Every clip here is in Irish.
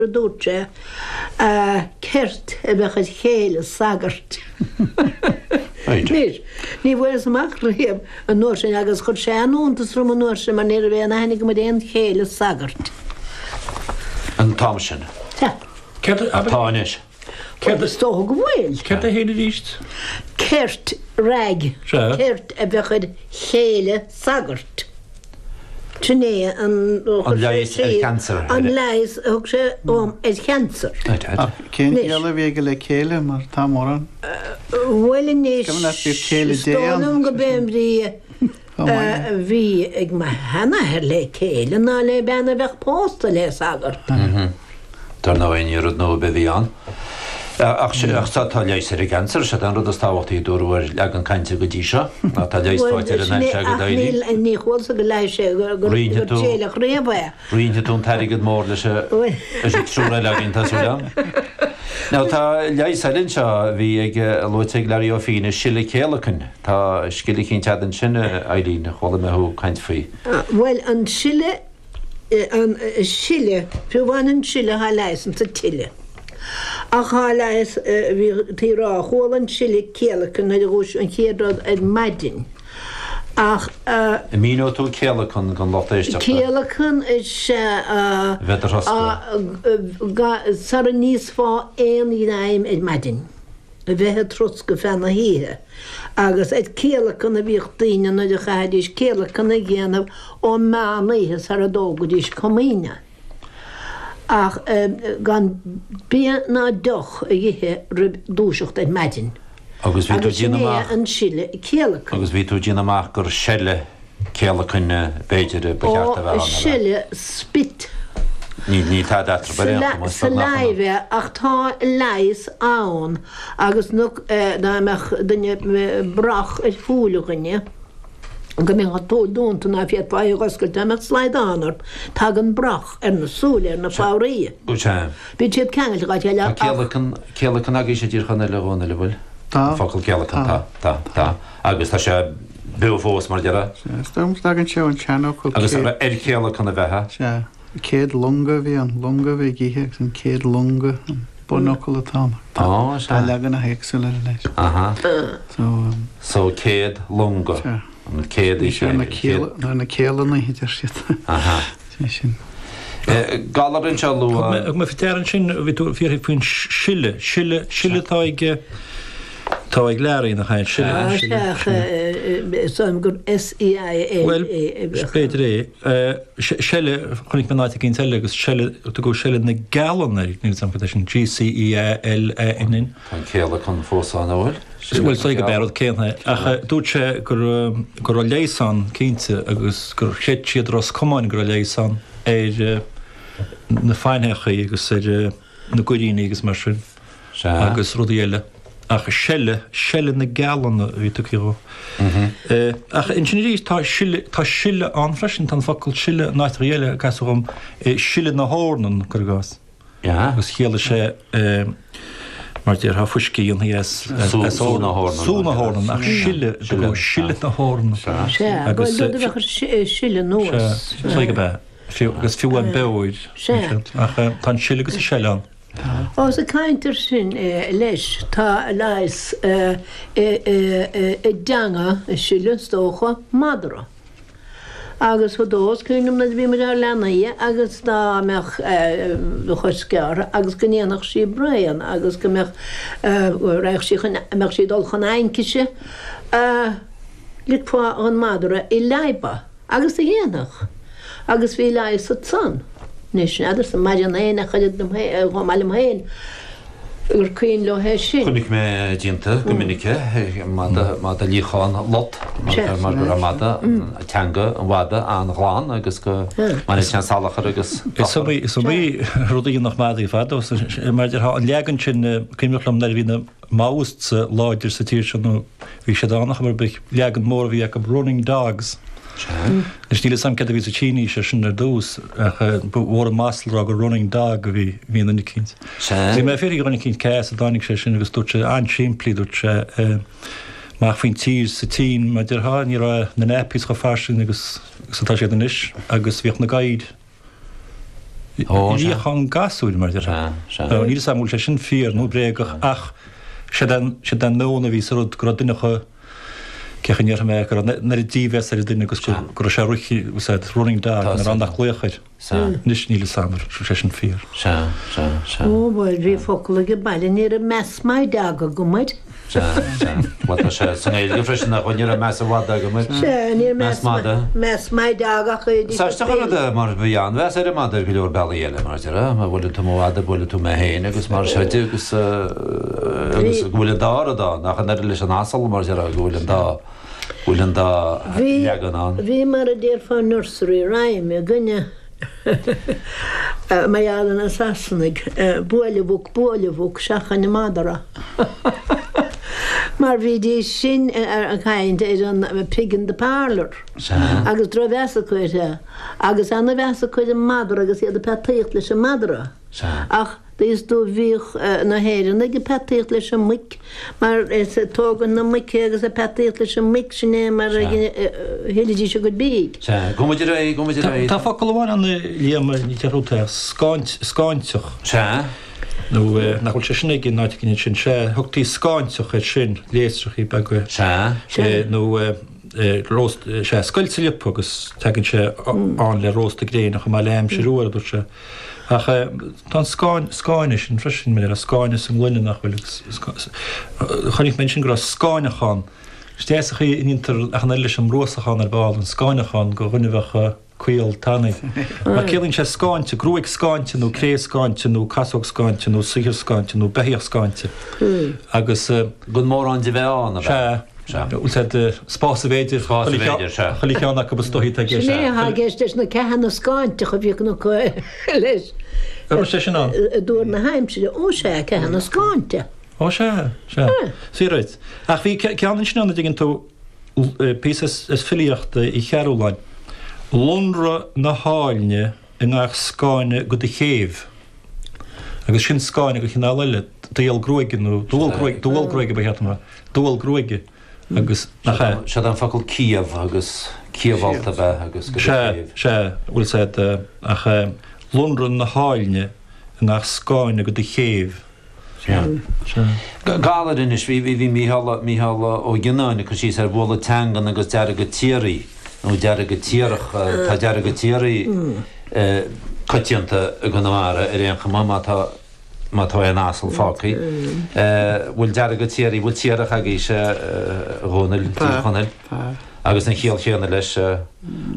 A dúirt sé, ceirt a bheadh ar chéile sagairt. Anois, ní bhfuaireas amach riamh an uair sin agus chuir sé an-iontas orm an uair sin mar ní raibh aon aithne agam ar aon chéile sagairt. An t-am sin. Sea. Céard a. Atá anois. Céard Is dócha go bhfuil. Céard é féin arís? Ceirt, rag. Sea. Ceirt a bheadh ar chéile sagairt. Sin é an An leigheas ar chancer. An leigheas a thug sé dhom ar chancer. Ach cén chiall a bhí aige le céile mar tá mórán. Bhuel anois, Is cuma leat bíodh céile is Dé dóigh ann. liom go b'é an bhrí a bhí ag mo sheanathair le céile ná le bean a bheadh pósta le sagart. Dar ndóigh, ní rud nua ar bith a bhí ann. Ach tá leigheas ar an gcancer, sé an rud is tábhachtaí a dúradh ar leagan cainte go dtí seo, ná tá leigheas faighte ar an ailse agat, Eileen. Ach ní chualasa go leigheas sé gur téileach riamh é. Roinnfidh tú an t-airgead mór leis an triúr eile againn, tá súil agam. Now tá leigheas eile anseo a bhí ag, luaite ag Larry Ó Fiaich, sileadh céalacain. Tá scil eicínt agat ansin, Eileen, chuala mé thú ag caint faoi. Bhuel, an sileadh an sileadh, fiú amháin an sileadh thá leigheas insa tsileadh. Ach thá leigheas, bhí tú a rá, chuala an sileadh céalacan nuair a dhúiseadh an chéad rud ar maidin. Ach. An míneoidh tú céalacan don lucht éisteachta? Céalacan is ea a bheith do throscadh. Sara n-íosfá aon ghreim ar maidin. a bheith ag troscadh feadh na hoíche, agus ar céalacan a bhíodh daoine nuair a chaithfidís céalacan a dhéanamh ó meán oíche sara dtógaidís comaoine. Ach gan bia ná deoch a dh'ithe roimh dúiseacht ar maidin. Agus bhí tú Agus sin déanamh é amach. an sileadh céalacain. Agus bhí tú déanamh amach gur seile céalacain b'fhéidir ba cheart a bheith ann, Ó, seile, spit. Níl tada eatarthu ar aon chuma, is beag nach ionadh. Saliva, ach tá leigheas ann agus nó dá mbeadh duine brach ar shúil dhuine, go mbeadh an tsúil dúnta ná féadfá í a dh'oscailt dá mbeadh slaghdán ort, tagann brach ar na súile, ar na fabhraí. Sea. Bíonn siad ceangailte dhá chéile Tá ach. céalacan, céalacan agaibhse i dTír Chonaill a Dhónaill, an bhfuil? Tá. An focal céalacan, tá, tá, tá. Agus tá sé beo fós, mar a déarfá. Sea, is dóigh liom go dtagann sé ón seanfhocal Agus ar chéalacan a bheifeá. Sea, céad longa a bhí ann, longa a bhí ag ithe agus an céad longa an bunfhocal atá ann. Á, sea. Tá leaganacha éagsúla air leis. Aha. So. So céad longa. Sea. An céad Bhí sé ar na céala, ar na céalanna, a deir siad. Aha. Sé sin. Galar anseo a luadh. Thug mé faoi deara ansin, bhí tú ag fiafraí faoin sileadh, sileadh, sileadh atá ag, atá ag Larry nach ea, sileadh, sileadh, sileadh. Is dóigh liom gur S-E-I-L-E Bhuel, a bheadh ann. b'fhéidir é. Seile, chonaic mé in áit eicínt eile agus seile, tugadh seile na gcealann air, níl 'fhios a'm cad é sin, G-C-E-A-L-A-N-N. Tá an céalacan fós ann, an bhfuil? Bhuel, is dóigh gurb é an rud céanna é. Ach dúirt sé go raibh leigheas ann, cinnte, agus gur chreid siad i Ros Comáin go raibh leigheas ann ar na faintheachaí agus ar na goiríní agus mar sin agus rudaí eile. Ach seile, seile na gcealanna a bhí tugtha dhó. Ach ansin arís tá sile, tá sile ann freisin, tá an focal sile in áiteachaí eile, casadh dhom, sileadh na heornan, cuir i gcás. Agus chiallaigh sé, mar déarfá, fuisce a dhéanfaí as Sú na heornan. Sú na heornan, ach sileadh, sileadh na heornan. Sea, bhuel, rud a bheadh ag sileadh anuas. Sea, is dóigh gurb ea. Agus fiú an beoir. Sea. Ach tá an sileadh agus an seile ann. Ós ag caint ar sin leis, tá leigheas i dteanga, i sileadh, is dócha, madra. Agus fadó, is cuimhin liom nuair a bhí muid ár leanaí agus dá mbeadh do chos gearrtha agus go ndéanfadh sí braon agus go mbeadh, go raghadh sí chun, mbeadh sí ag dul chun aincise, ligfeá dhon madra í leadhbadh. Agus do dhéanfadh. Agus bhí leigheas ansan. Anois, n'fheadarsa an maireann éinne ach oiread liom féin, chomh maith liom féin, gur cuimhin leo é sin. Chonaic mé déanta go minic é, mada, mada líochán lot, mar go raibh mada, teanga an mhada an-ghlan agus go mbaineadh sé an salachar agus Is iomaí, is iomaí rud a dhéanfadh madaí fadó, mar a déarfá, an leagan sin, cuimhneach liom nuair a bhí na Maoists láidir sa tír seo nó bhí siad ann ar chuma ar bith, leagan mór a bhí acu, running dogs. Anois níl 'fhios a'm céard a bhí sa tSínís ar sin ar dtús ach ba mhór an masla a rá gur running dog a bhí i nduine eicínt. Bhí mé ag fiafraí de dhuine eicínt cé as a dtáinig sé sin agus dúirt sé an-simplí, dúirt sé amach faoin tír sa tSín mar a déarfá, ní raibh na nappies chomh fairsing agus atá siad anois agus bhíodh na gadhair. Líochán gasúir, mar a déarfá. Níl a fhios agam an bhfuil sé sin fíor nó bréagach ach séard é an meon a bhí sa rud go raibh duine acu, cén chaoi a ndéarfaidh mé, go raibh an oiread dímheas ar an duine agus go raibh sé rith, running dog, nach raibh ann ach glaoch air. Anois níl a fhios agam an bhfuil sé sin fíor. Ó bhuel, bhí focal ag an baile, ní raibh meas maith dog agam air. Sea, sea. Bhuel, tá sé sa nGaeilge freisin nach bhfuil, ní raibh meas an mhadaidh agam air. Sea, ní raibh meas madaidh. Meas maith dog ach é Is aisteach an rud é mar bhí an-mheas ar an mada ar go leor bealaí eile, mar a déarfá, má bhuaileann tú mo mhada, buailfidh tú mé féin agus mar seo de agus agus go bhfuil an dá rud ann, ach an oiread leis an asal, mar a déarfá, go bhfuil an dá, go bhfuil an dá leagan ann. Bhí mar a déarfá nursery rhyme againne. Mar gheall ar na Sasanaigh, buail an mhuc, buail an mhuc, seachain an madra. Mar bhídís sin ag caint ar an pig in the parlour. Agus drochmheas acu air. Agus ana-mheas acu ar an madra agus iad ag peataíocht leis an madra. Ach. Is dó bhíodh na hÉireannaigh ag peataíocht leis an muic mar is ag tógaint na muice agus ag peataíocht leis an muic, sin é mar a thuillidís a gcuid bídh. Sea, gabh muid ar aghaidh, gabh muid ar aghaidh. Tá focal amháin ann a Liam, ní deir tú é, scáint, scáinteach. Sea. Nó nach bhfuil sé sin ag an áit éigin ansin. Sea, thugtaí scáinteach air sin, léasrachaí beaga. Sea. Nó róst, sea, scoilt sa liopa agus tagann sé ann le rósta gréine chomh maith le aimsir fhuar, a dúirt sé. Ach tá an scáin, scáine sin freisin, mar a scáine sa ngloine nach bhfuil agus chonaic mé ansin go raibh scáineachán. Is deas an chaoi a ndéantar ach an oiread leis an mbruasachán ar ball, an scáineachán go dhuine a bheadh caol tanaí. Mar ciallaíonn sé scáinte, gruaig scáinte nó cré scáinte nó casóg scáinte nó saothar scáinte nó beithíoch scáinte. Agus. Gan mórán de bheith ann, ab ea? Sea. Sea. Bhfuil said spás a bhféidir. Spás a bhféidir, sea. Chuile cheann acu is dóichí atá i gceist. Sin é atá i gceist leis na ceathanna scáinteacha a bhíodh acu leis. An raibh sé sin ann? I dtuar na haimsire. Ó sea, ceathanna scáinte. Ó sea, sea. Sea, right. Ach bhí ceann ansin ann a dtuigeann tú, píosa as filíocht Uí Chearúlláin, Lonradh na háilne i ngach scáine go do chéibh. Agus sin scáine de chineál eile, dual gruaige nó dual gruaige, dual gruaige ba cheart dom a rá, dual gruaige agus nach ea? Seod é an focal ciabh agus ciabhálta a bheith agus go do Sea, chéibh. sea, bhfuil said, ach lonradh na háilne i ngach scáine go do chéibh. Sea. Sea. Galar anois, bhí, bhí, bhí Mícheál, Mícheál Ó Gionnáin ag cur síos ar bhualadh teangan agus deargadh tiaraí, nó deargadh tiarach, tá deargadh tiaraí coitianta i gConamara ar aon chuma má tá, má tá aon asal fágtha. Bhfuil deargadh tiaraí, bhfuil tiarach agaibhse, a Dhónaill, i dTír Chonaill? Tá, tá. Agus an chiall chéanna leis,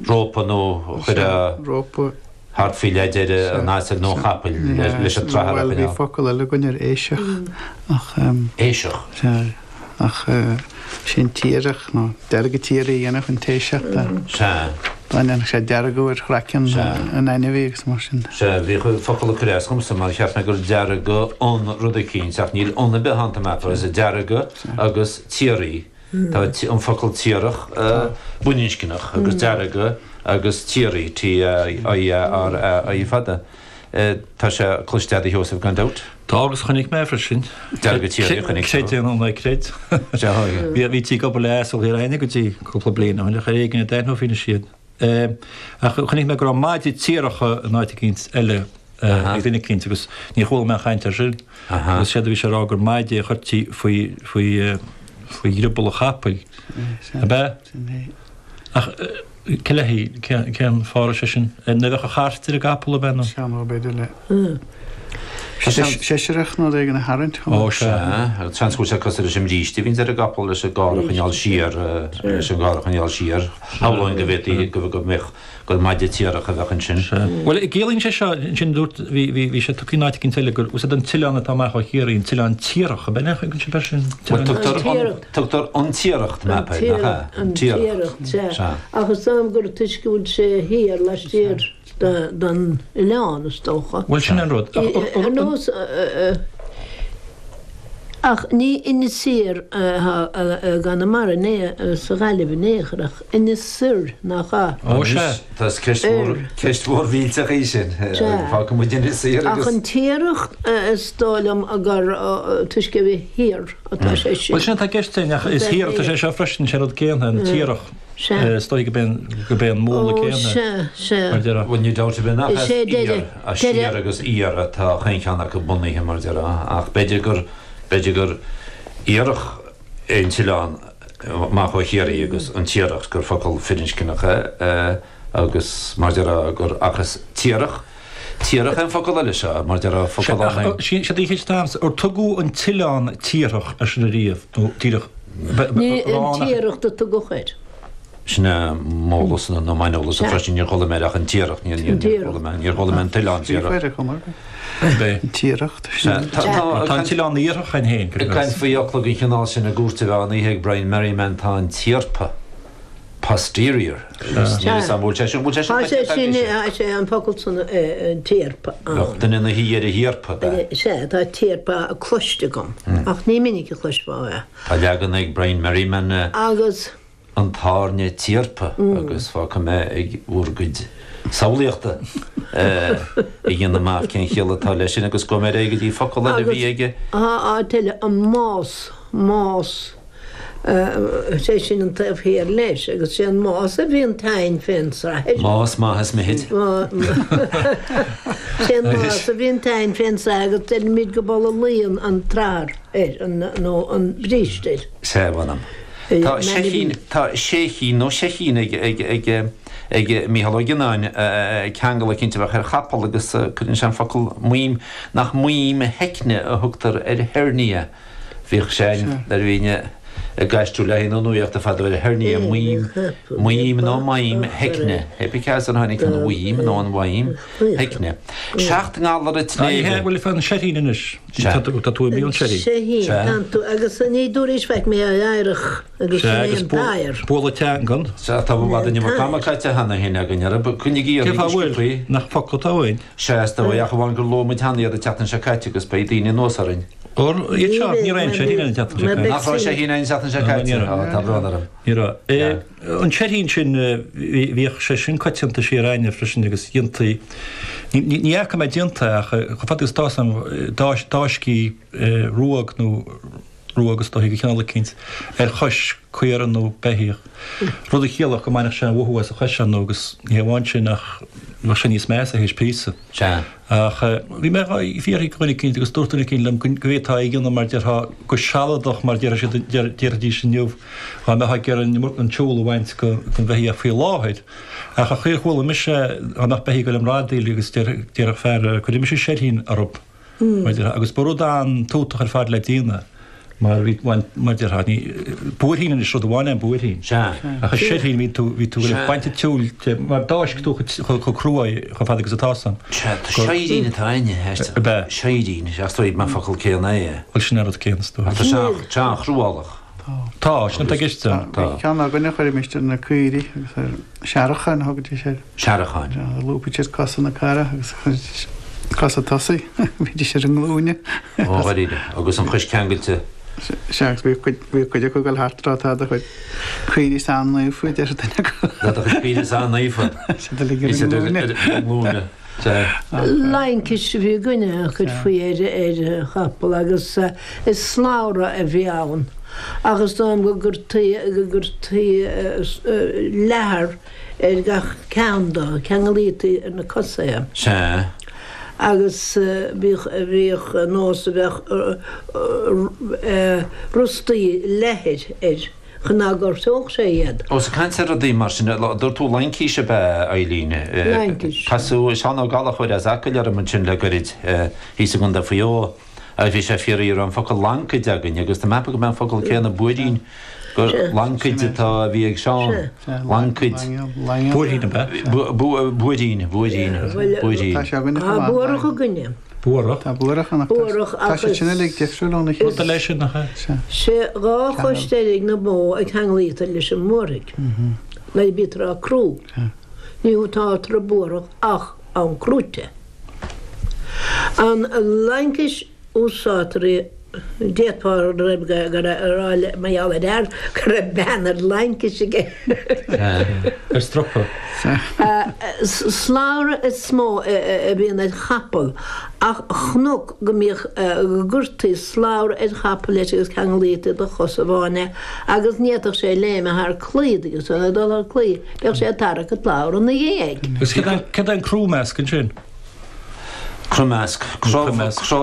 rópa nó chuirfeá. Rópa. thart faoi leid ar an asal nó an chapaill leis an tsrathar a Bhuel, bhí choinneáil. focal eile againn ar eisiach ach. Eisiach? Sea, ach sé an tiarach nó deargadh tiaraí a dhéanfadh an t-eisiach dá. Sea. Dá ndéanfadh sé deargadh ar chraiceann an ainmhí agus mar sin. Sea, bhíodh focal ag cur as dhomsa mar cheap mé gur deargadh an rud eicínt ach níl an ar bith ann tá mé ag ceapadh, deargadh agus tiaraí. Tá an focal tiarach baininscneach agus deargadh agus tiaraí, T-I-A-R-A-I fada. Tá sé cloiste agat a Sheosaimh gan dabht. Tá agus chonaic mé freisin. Deargadh tiaraí a chonaic tú. Creid é nó ná creid. Bhítí ag obair le asal Thír Aidhne go dtí cúpla bliain ó shin ach ar éigean a d'aithneofaí anois iad. Ach chonaic mé go raibh maide tiaracha in áit eicínt eile ag duine eicínt agus níor chuala mé aon chaint air sin. Agus séard a bhí sé a rá gur maide a chuirtí faoi faoi faoi dhrioball an chapaill. Ab ea? Ach cé le cén fáth a raibh sé sin? Ní bheadh an chairt ar an gcapall ab ea nó? Sea nó b'fhéidir le seisreach nó rud éigin a tharraingt. Ó sea. Sea, seans go bhfuil sé cosúil leis an mbríste a bhíonns ar an gcapall leis an gcarr a choinneáil siar, leis an gcarr a choinneáil siar. Shamhlóinn go bhféadfaí go mbeadh, gur maide tiarach a bheadh ansin. Sea. Bhuel, ciallaíonn sé seo, ansin dúirt, bhí, bhí, bhí sé tugtha in áit eicínt eile gur, úsáid an t-oileán atá amach ó Chiarraí, an t-oileán Tiarach, ab ea? An sin sin? Bhuel, tugtar an, tugtar an Tiaracht, map air, nach ea? An Tiaracht, sea. Sea. Ach is dóigh liom gur toisc go bhfuil sé thiar, laistiar. den oileán, is dócha. Bhuel, sin an rud. Ar nós, ach ní Inis Oírr atá i gConamara, sa Ghaillimh in aon chor, ach Inis Oirr, nach ea? Ó, sea. Tá ceist mhór, ceist mhór mhillteach í sin. Fágfaidh muid Inis Oírr agus. Ach an Tiaracht, is dóigh liom gur toisc a bheith thiar atá sé sin. Bhuel, sin atá i gceist, ach is thiar atá sé seo freisin, sé an rud céanna, an Tiarach. Sea. Is dóigh gurb é an múnla Ó, céanna, sea, sea. mar a déarfá. Bhuel, níl dabht ar bith nach Is as é iar, deireadh, as siar deireadh. agus iar atá chaon cheann acu bunaithe, mar a déarfá, ach b'fhéidir gur, b'fhéidir gur iarthach é an t-oileán amach ó Chiarraí agus an Tiaracht, gur focal firinscneach é agus, mar a déarfá, gur, ach is Tiarach, Tiarach é an focal eile seo, mar a déarfá, focal Sea, ach ann. sin í an cheist atá a'msa, ar tugadh an t-oileán Tiarthach air sin ariamh, nó díreach, Ní an Tiaracht a tugadh air. Sin é m'eolas nó m'aineolas freisin, níor chuala mé air ach an Tiaracht, níor chuala mé, níor chuala mé an t-oileán Tiarach. An Tiaracht. Tá an t-oileán Iarthach ann féin, Ag caint faoi fhocla den chineál sin i gcúirt an mheán oíche ag Brian Merriman tá an tiarpa. posterior agus níl 'fhios a'm bhfuil sé sin bhfuil sé sin Tá sé sin tá sé an focal san an tiarpa ann. Bheadh duine ina shuí ar a thiarpa, ab ea? Sea, tá tiarpa cloiste agam ach ní minic a chloisfeá é. Tá leagan ag Brian Merriman Agus. an tairne tiarpa agus fágfaidh mé ag bhur gcuid samhlaíochta a dhéanamh amach cén chiall atá leis sin agus gabhfaidh mé ar aghaidh go dtí focal eile a bhí aige. Agus tá áit eile, an más, más. Sé sin an taobh thiar leis, agus sé an más a bhíonn tinn fén srathair. Más maith is mithid. Sé an más a bhíonn tinn fén srathair agus deirimid go bpoll a luíonn an tsrathair air, nó an bríste air. Sea, mh'anam. Tá seichín, tá séichín nó seichín ag, ag, ag, ag Mícheál Ó Gionnáin, ceangal eicínt a bheadh ar chapall agus cuireann sé an focal maoim, nach maoim sheicne a thugtar ar hernia. Bhíodh sé nuair a bhínn ag aistriú le haghaidh na nuaíochta fadó ar hernia, maoim, maoim nó maidhm sheicne. Hé pé cé as ar tháinig an mhaoim nó an mhaidhm sheicne. 7 ngalar an tsléibhe. Bhuel, fan seichín anois. Tá tú imithe ón seichín. Seichín, tá tú, agus ní dúraís faic mé a éireach agus sin é an t-adhar. Bualadh teangan. Sea, tá i bhfad an iomarca ama caite cheana féin againn, ar coinnigí Cén oraibh fáth a bhfuil? sciobthaí. Nach focal atá uainn? Sea, is dóigh, ach amháin gur luaigh muid cheana iad an tseachtain seo caite agus beidh daoine anuas orainn. Or, iad seo, ní raibh aon seichín an tseachtain seo caite. Nach raibh seichín an tseachtain seo caite? Á, tá brón orm. Ní raibh. An seichín sin, bhíodh sé sin coitianta siar a'inne freisin agus dhéantaí, ní fhaca mé déanta ach chomh fada agus atá 'fhios a'm, d'fháisctí ruag nó ruag is dóichí de chineál eicínt ar chois caora nó beithíoch, rud a chiallódh go mbainfeadh sé an mhothú as a chois ar ndóigh agus ní hamháin sin ach bheadh sé níos measa théis píosa. Sea. Ach bhí mé dhá fiafraí de dhuine eicínt agus dúirt duine eicínt liom go bhféadfá é a dhéanamh mar déarfá go sealadach mar déarfadh siad déarfaidís inniu dá mbeifeá ag iarraidh an tsiúl a bhaint den bheithíoch faoi láthair. Ach an chaoi ar chuala mise dá mbeadh beithíoch ag dul i mbradaíl agus déarfadh fear cuirfidh mise seirthín orthu. Mar a déarfá, agus ba rud an-tútach ar fad le déanamh mar bhí, mar a déarfá, ní, buairthín anois, rud amháin é an buairthín. Sea. Ach an seirthín, bhí tú, bhí tú ag Sea. baint an tsiúil de, mar d'fháisc tú chomh, chomh crua é, chomh fada agus atá 'fhios a'm. Sea, tá seirín atá a'inne, éist. Ab ea? Seirín, sea, is dóigh, an focal céanna é. Bhuel, sin an rud céanna, is dóigh. Ach tá sé an, sé an-chruálach. Tá, sin atá i gceist ann. Tá. Bhí ceann againne a chuirimis ar na caoirigh agus ar searacháin a thugaidís air. Searacháin. Lúbaidís siad cosa na caora agus chuiridís cosa tosaigh, bhídís ar a nglúine. Ó, dháiríre, agus an chois ceangailte. Sea, agus bhí cuid, bhí cuid acu ag dul thart ag rá tá do chuid caoirigh an-naofa, a deir duine acu. Tá do chuid caoirigh an-naofa. Siad uilig ar a nglúine. Ar a nglúine. Laincis a bhí againne a chuirfí ar chapall agus is slabhra a bhí ann ach is dóigh liom go gcuirtí go gcuirtí leathar ar gach ceann dó, ceanglaítí ar na cosa é. Sea. Agus bhíodh bhíodh nós a bheadh rostaí leathair air. Chun ná gortódh sé iad. Ós ag caint ar rudaí mar sin, dúirt tú laincis ab ea, Eileen? Laincis. Casadh Seán Ó Gallchóir as Acaill orm ansin le goirid, thíos i gContae Mhaigh Eo, agus bhí sé ag fiafraí an raibh an focal lancaid againn, agus tá mé ag ceapadh gurb é an focal céanna buairín, gur lancaid atá, a bhí ag Seán. Lancaid. Buairín ab ea? Buairín, buairín, buairín. Tá sé againne chomh Tá maith. buarach againne. Buarach. Tá buarach ann ach Buarach tá siad agus. sin uilig difriúil óna chéile. Rud eile sin nach ea? Sea. Sé 2 chois deiridh na bó a ceanglaítear leis an mbuarthaigh nuair a bítear á crú. Ní úsáidtear an buarthach ach am crúite. An laincis úsáidtear í. D'fhéadfá a rá mar gheall ar fhear go raibh bean ar laincis aige. Ar stropa. Slabhra is mó a bhíonn ar chapall ach chonac go mbíodh, go gcuirtí slabhra ar chapall leis agus ceanglaítí de chos amháin é agus ní fhéadfadh sé léimeadh thar claí agus é ag dul thar claí bheadh sé ag tarrac an tslabhra ina dhiaidh. Agus céard é an croimeasc ansin? Croimeasc. Croimeasc.